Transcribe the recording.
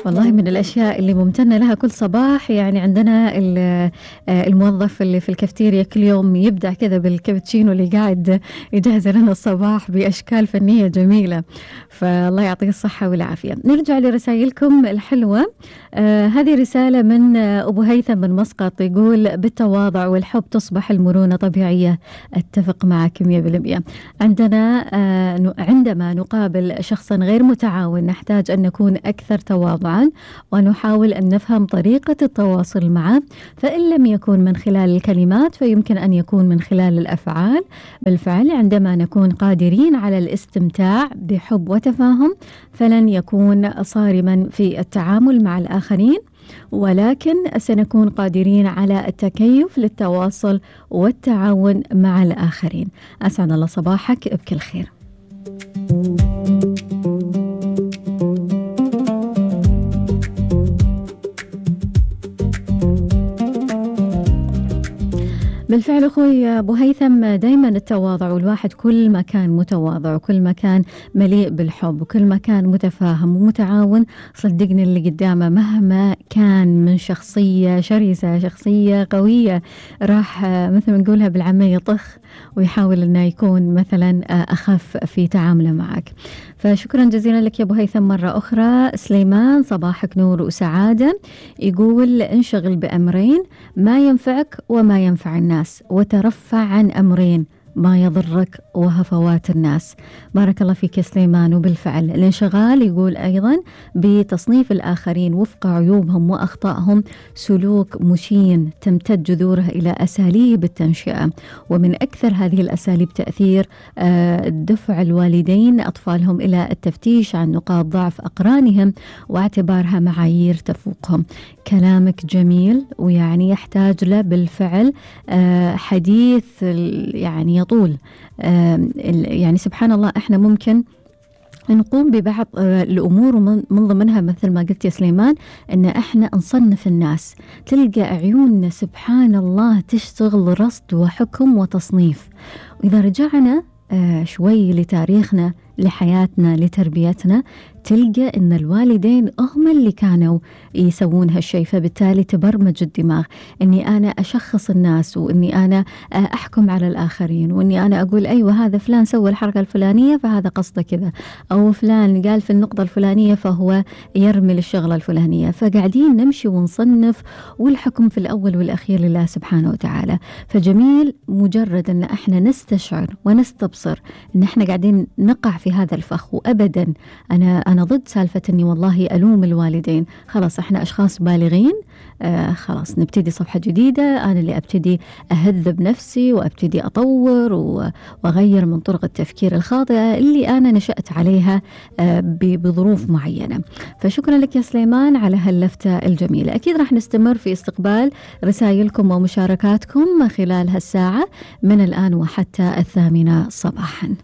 والله من الأشياء اللي ممتنة لها كل صباح، يعني عندنا الموظف اللي في الكافتيريا كل يوم يبدع كذا بالكابتشينو اللي قاعد يجهز لنا الصباح بأشكال فنية جميلة، فالله يعطيه الصحة والعافية. نرجع لرسائلكم الحلوة. هذه رسالة من أبو هيثم من مسقط، يقول: بالتواضع والحب تصبح المرونة طبيعية. أتفق معك 100%. عندما نقابل شخصا غير متعاون نحتاج أن نكون أكثر تواضعا ونحاول أن نفهم طريقة التواصل معه، فإن لم يكن من خلال الكلمات فيمكن أن يكون من خلال الأفعال. بالفعل عندما نكون قادرين على الاستمتاع بحب وتفاهم فلن يكون صارما في التعامل مع الآخرين، ولكن سنكون قادرين على التكيف للتواصل والتعاون مع الآخرين. أسعد الله صباحك بكل خير. بالفعل أخوي أبو هيثم، دايما التواضع، والواحد كل ما كان متواضع وكل ما كان مليء بالحب وكل ما كان متفاهم ومتعاون، صدقني اللي قدامه مهما كان من شخصية شرسة شخصية قوية راح مثل ما نقولها بالعامية طخ ويحاول أنه يكون مثلا أخف في تعامله معك. فشكرا جزيلا لك يا أبو هيثم مرة أخرى. سليمان صباحك نور وسعادة، يقول: انشغل بأمرين ما ينفعك وما ينفع الناس، وترفع عن أمرين ما يضرك وهفوات الناس. بارك الله فيك يا سليمان. وبالفعل الانشغال يقول أيضا بتصنيف الآخرين وفق عيوبهم وأخطائهم سلوك مشين تمتد جذورها إلى أساليب التنشئة، ومن أكثر هذه الأساليب تأثير دفع الوالدين أطفالهم إلى التفتيش عن نقاط ضعف أقرانهم واعتبارها معايير تفوقهم. كلامك جميل ويعني يحتاج له بالفعل حديث يعني يطول. يعني سبحان الله احنا ممكن نقوم ببعض الأمور ومن ضمنها مثل ما قلت يا سليمان أن احنا نصنف الناس، تلقى عيوننا سبحان الله تشتغل رصد وحكم وتصنيف. وإذا رجعنا شوي لتاريخنا لحياتنا لتربيتنا تلقى أن الوالدين هم اللي كانوا يسوون هالشيء، فبالتالي تبرمج الدماغ أني أنا أشخص الناس وأني أنا أحكم على الآخرين وأني أنا أقول أيوة هذا فلان سوى الحركة الفلانية فهذا قصده كذا، أو فلان قال في النقطة الفلانية فهو يرمي الشغلة الفلانية. فقاعدين نمشي ونصنف، والحكم في الأول والأخير لله سبحانه وتعالى. فجميل مجرد أن احنا نستشعر ونستبصر أن احنا قاعدين نقع في هذا الفخ. وأبدا أنا ضد سالفة أني والله ألوم الوالدين. خلاص احنا أشخاص بالغين، خلاص نبتدي صفحة جديدة، أنا اللي أبتدي أهذب نفسي وأبتدي أطور وأغير من طرق التفكير الخاطئة اللي أنا نشأت عليها بظروف معينة. فشكرا لك يا سليمان على هاللفتة الجميلة. أكيد راح نستمر في استقبال رسائلكم ومشاركاتكم خلال هالساعة من الآن وحتى 8 صباحا.